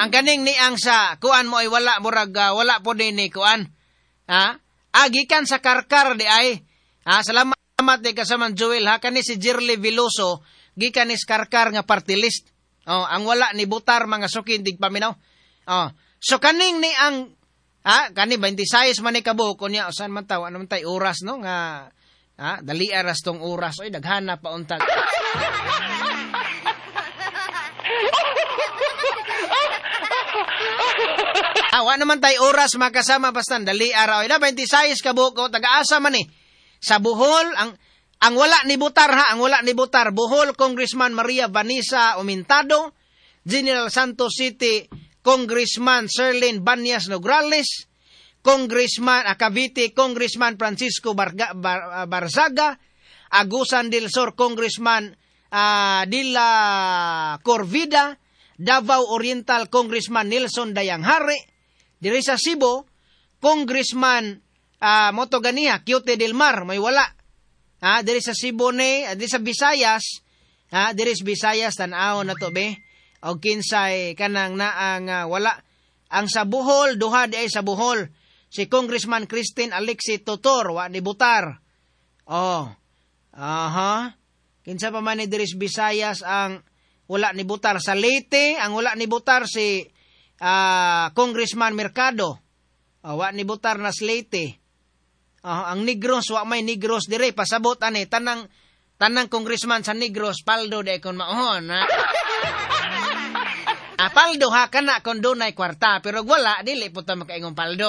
Ha, ang kaning ni ang sa kuan mo ay wala murag wala po din ni kuan. Ha? Gikan sa Karkar di ay. Ha, salamat di kasama Joel ha, kani si Jirly Veloso gikan ni Karkar nga party list. Oh, ang wala ni butar mga sukin tigpaminaw. Oh, so kaning ni ang ha, kani 26 man ni kabuok unya usan man taw, ano man tay oras no nga ha, dali aras tong oras oy daghana pa untag. Wa naman tay oras makasama basta dali ara oy na 26 kabuok o taga-asa man ni. Sa Bohol ang wala ni butar ha, ang wala ni butar Bohol Congressman Maria Vanessa Omintado, General Santos City Congressman Sherlyn Banyas Nograles, Congressman Cavite Congressman Francisco Barzaga, Agusan del Sur Congressman Dila Corvida, Davao Oriental Congressman Nelson Dayanghari, diri sa Cebu Congressman Motogania Cute del Mar, may wala. Ha, diri sa Cebu ni, diri sa Visayas, ha, diri sa Visayas tan-awon na to be. Og kinsay kanang naang wala. Ang sa Bohol, duha di ay sa Bohol. Si Congressman Christine Alexi Totor, wa ni butar. Oh. Aha. Kinsa pa man ni diri sa Visayas ang wala ni butar. Sa Leyte, ang wala ni butar si Congressman Mercado. Oh, wa ni butar na sa Leyte. Oh, ang Negros, wa may Negros dire. Pasabot ani tanang congressman sa Negros paldo di kon maohon. Ha? Paldo ha kana kon dunay kwarta, pero wala dili po ta makaingong paldo.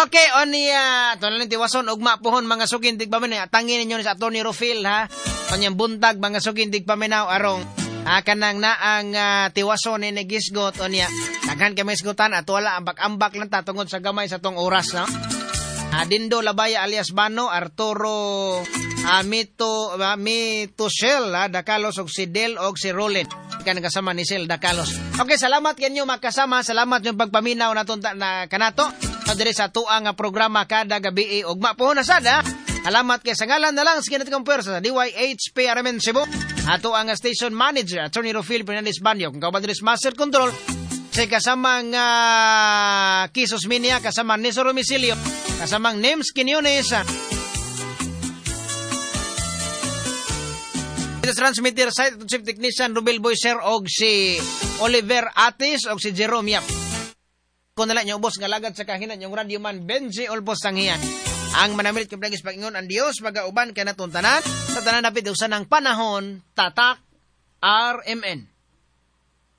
Okay, onya ato na tiwason ugma pohon mga sukin tigpaminaw. Atangin ninyo ni sa Attorney Rufil ha. Kanyang buntag mga sukin tigpaminaw arong kanang naang tiwason ni gisgot onya. Daghan kami isgutan at wala ambak-ambak lang ta tungod sa gamay sa tong oras no. Dindo Labaya alias Bano, Arturo Mito Mitushel Dakalos og si Del og si Rolin. Kan kasama ni Sel Dakalos. Okay, salamat kanyo makasama, salamat yung pagpaminaw naton na kanato. Diri sa tuang nga programa kada gabi ugma pohon na sad ha. Salamat kay sa ngalan na lang sa kinatikong pwersa sa DYHP RMN Cebu. Ato ang station manager Attorney Rufil Fernandez Banyo, kung kauban diri Master Control sa kasamang Kisos Minia, kasamang Nesor Romisilio, kasamang Nems Quinones. Transmitter site chief technician Rubel Boyser og si Oliver Atis og si Jerome Yap. Kung nala niyo ubos nga lagad sa kahinan yung radyo man Benji Olbos Sanghian. Ang manamilit kay Pag-ingon ang Dios magauban kay natong tanan sa tanan napit usan ang panahon. Tatak RMN.